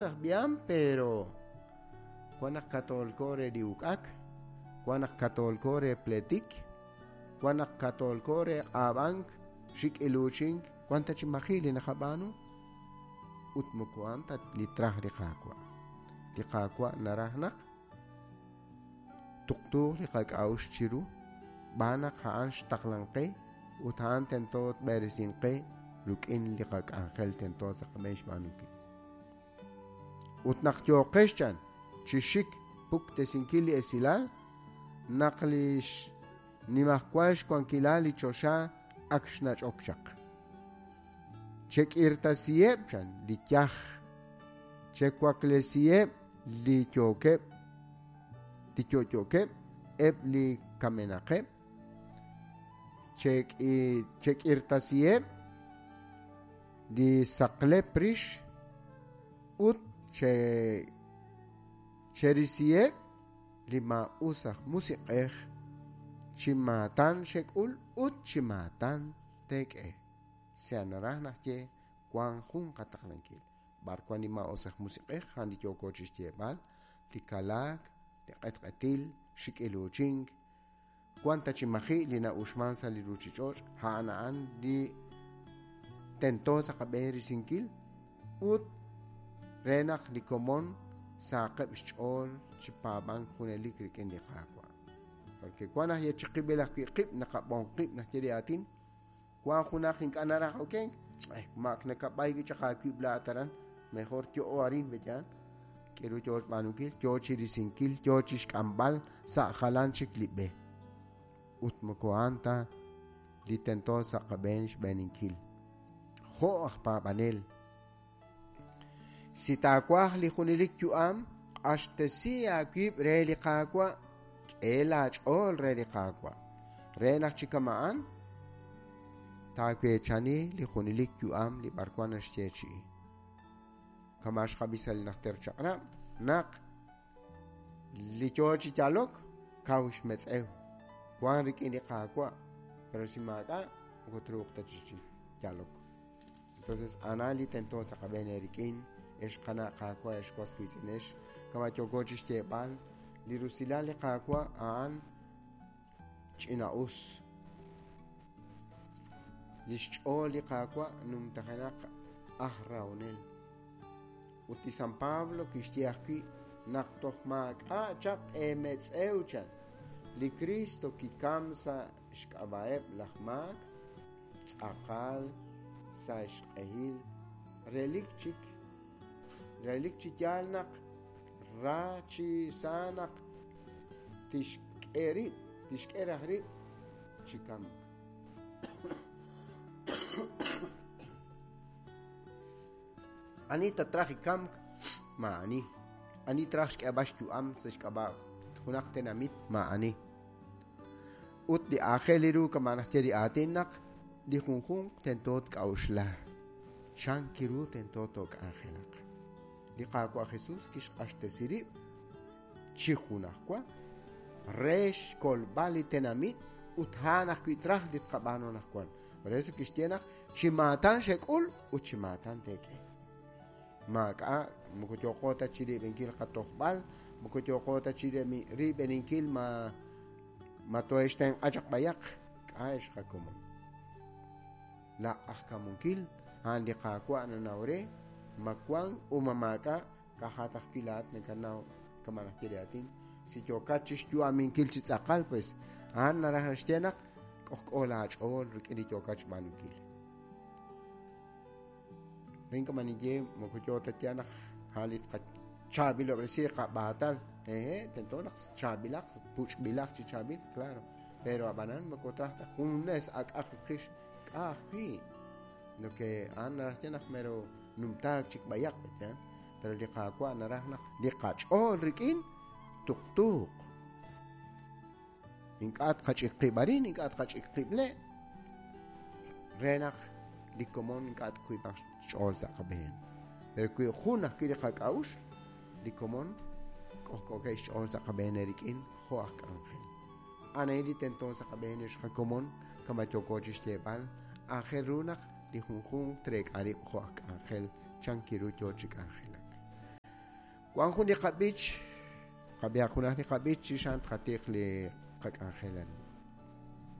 Aj b'iham, pero wan naq katoolko re li uk'ak, wan naq katoolko re pleetik, wan naq katoolko re q'aab'ank, xik' iluuchink, wan ta chi maji' li naqab'aanu ut moko a'an ta li traj li Qaawa'. Li Qaawa' naraj naq tuqtuuq li qak'a'uxl chiru, xb'aan naq a'an xtaqlan qe ut a'an tento tb'eresinq qe rik'in li qak'anjel tento sa' qab'een xb'aanunkil. Ut naq yooqex chan chi xik puktesinkil li esilal, naq li xnimajwal xwankilal li choxa ak xnach'ok chaq. Chek'irtasiheb' chan li yaj, chewaklesiheb' li yookeb' li yo'yookeb', eb' li kamenaqeb', chek'irtasiheb' li saqlep rix ut cherisiheb' li maa'us aj musiq'ej chi maatan xek'ul ut chi maatan teek'e. Sea naraj naxye wank jun qataqlankil. B'ar wank li maa'us aj musiq'ej a'an li yooko chi xyeeb'al, li kalaak, li q'etq'etil, xik'iluuchink, wan ta chi maji' li na'uxman sa' li ruuchich'och', a'an a'an li tento sa' qab'een risinkil ut re naq li komon sahaqeb' xch'ool chi paab'ank junelik rik'in li Qaawa'. Porque wan naq yechiqib'il ajwi' qib' naqab'on qib' naxye li aatin, wan junaq ink'a' naraj okenk, maak nakab'ay wi' chaq aawib' laa'at aran, mejor yo'o arin b'eyaan. K'aru yoo xb'aanunkil? Yoo chi risinkil, yoo chi xk'amb'al sa' jalan chik li b'e. Ut moko a'an ta li tento sa' qab'een xb'eeninkil. Jo' aj paab'anel, si taawaj li junelik yu'am, q'axtesi aawib' re li Qaawa', k'e laach'ool re li Qaawa', re naq chi kama'an taaweechani li junelik yu'am li b'arwan naxyeechi'i. Kama' xqab'i sa' li Najter Chaq'rab' naq li yoo chi yalok kaw xmetz'ew, wank rik'in li Qaawa', pero si maak'a' moko truuq ta chi yalok. Entonces, a'an li tento sa' qab'een eerik'in, ex qana' Qaawa', ex was wiitz'inex, kama' yooko chi xyeeb'al, li rusilal li Qaawa' a'an ch'ina'us. Li xch'ool li Qaawa' numtajenaq aj rahonel. Ut li San Pablo kixye ajwi' naq toj maak'a' chaq eemetz'ew chan, li Kristo kikam sa' xk'ab'a'eb' laj maak, tz'aqal sa' xq'ehil, relik chik relik chi yaal naq ra chi sa naq tixk'e rib', tixk'e raj rib' chi kamk. Ani tatraj li kamk? Maa'ani. Ani traj xk'eeb'al xyu'am sa' xk'ab'a' junaq tenamit? Maa'ani. Ut li aajel ru kama' naxye li aatin naq li junjunq tento tk'a'uxla chan kiru tento took'anjelaq. Li Qaawa' Jesús kixq'axtesi rib' chi junajwa re xkolb'al li tenamit ut a'an ajwi' traj li tqab'aanu anaqwan. Por eso kixye naq chi maatan xek'ul ut chi maatan teek'e. Maak'a' moko yooqo ta chi riib'enkil qatojb'al, moko yooqo ta chi riib'eninkil ma ma toohe'xtenq'a chaq b'ayaq, k'a' ex qakomon. La q'ajkamunkil a'an li Qaawa' nanaw re ma wank u ma maak'a' ka'ajat ajwi' laa'at nakanaw kama' naxye li aatin. Si yookat chi xyu'aminkil chi tz'aqal, pues a'an naraj naxye naq k'ojk'o laach'ool rik'in li yookat xb'aanunkil. Rin kama' ninye moko yoo ta yaal naq a'an li tqachaab'ilob'resi qab'aatal. Ehe, tento naq chaab'ilaq, puch'b'ilaq chi chaab'il, claro. Pero ab'anan moko traj ta junes ak'aq qix k'a' ajwi'. Lo que a'an naraj xye naq mero numtaak chik b'ayaq, yaal. Pero li Qaawa' naraj naq li qach'ool rik'in tuqtuuq. Ink'a' tqach'ik qib' arin, ink'a' tqach'ik qib' le', re naq li komon ink'a' twiib'aq xch'ool sa' qab'een. Pero wi jun ajwi' li qak'a'uxl, li komon k'ojk'ookeb' xch'ool sa' qab'een eerik'in jo' aj k'anjel. A'an a'in li tento sa' qab'een ex qakomon, kama' yooko chi xyeeb'al, aajel ru naq li junjunq treek'a rib' jo' aj k'anjel chan kiru yoo chi k'anjelak. Wan jun li qab'ich, qab'ihaq junaq li qab'ich chirix a'an tqatiq li qak'anjel.